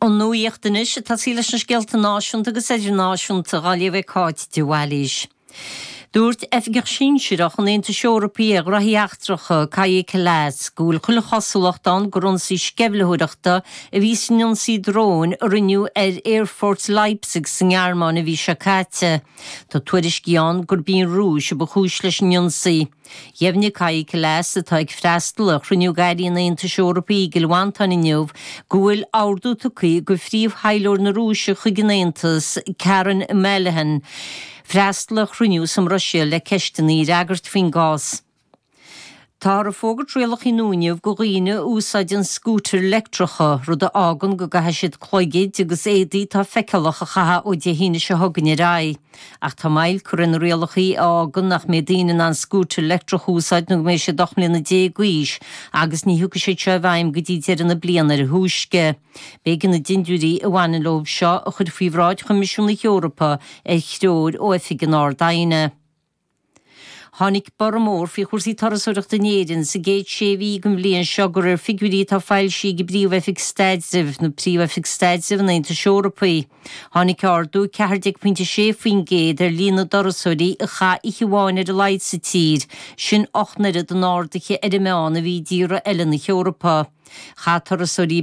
An nuacht anois, ag tosaí leis na scéalta náisiúnta agus idirnáisiúnta, á léamh ag Cáit de Bhailís. Dúirt oifigeach sinsearach an Aontais Eorpaigh ar ghraithí eachtracha, Kaja Kallas, go bhfuil chuile chosúlacht ann gur ionsaí sceimhlitheoireachta a bhí san ionsaí dróin a rinneadh ar aerfort Leipzig sa nGearmáin an mhí seo caite. Tá tuairiscí ann gurb í an Rúis a ba chúis leis an ionsaí. Dheimhnigh Kaja Kallas, atá ag freastal ar chruinniú d'airí an Aontais Eorpaigh i gCill Mhantáin inniu, go bhfuil ordú tugtha do phríomh-thaidhleoir na Rúise chuig an Aontas, Karen Melehin, freastal ar chruinniú sa mBruiséil le ceisteanna a fhreagairt faoin gcás. Táthar ag fógairt rialacha nua inniu do dhaoine a úsáideann scútair leictreacha, rud a fhágann go gcaithfidh siad cloigid agus éadaí atá feiceálach a chaitheamh ó Dé hAoine seo chugainn ar aghaidh. Ach tá moill curtha ar na rialacha a fhágann nach mbeidh daoine in ann scútar leictreach a úsáid nó go mbeidh siad 18 mbliana d'aois agus ní thiocfaidh siad seo i bhfeidhm go dtí deireadh na bliana ar a thúisce. B'éigean na dindiúirí a bhaineann leo seo a chur faoi bhráid Choimisiún na hEorpa ar threoir ó Oifig an Ard-Aighne. Tháinig borradh mór faoi chúrsaí turasóireachta in Éirinn sa gcéad sé mhí den bhliain seo de réir figiúirí atá foilsithe ag an bPríomh-Oifig Staidrimh, nó Príomh-Oifig Staidrimh an Aontais Eorpaigh. Tháinig ardú 14.6% ar líon na dturasóirí a chaith oíche amháin ar a laghad sa tír, sin 8 n-oiread an ardaithe ar an meán a bhí i dtíortha eile na hEorpa. Chaith turasóirí.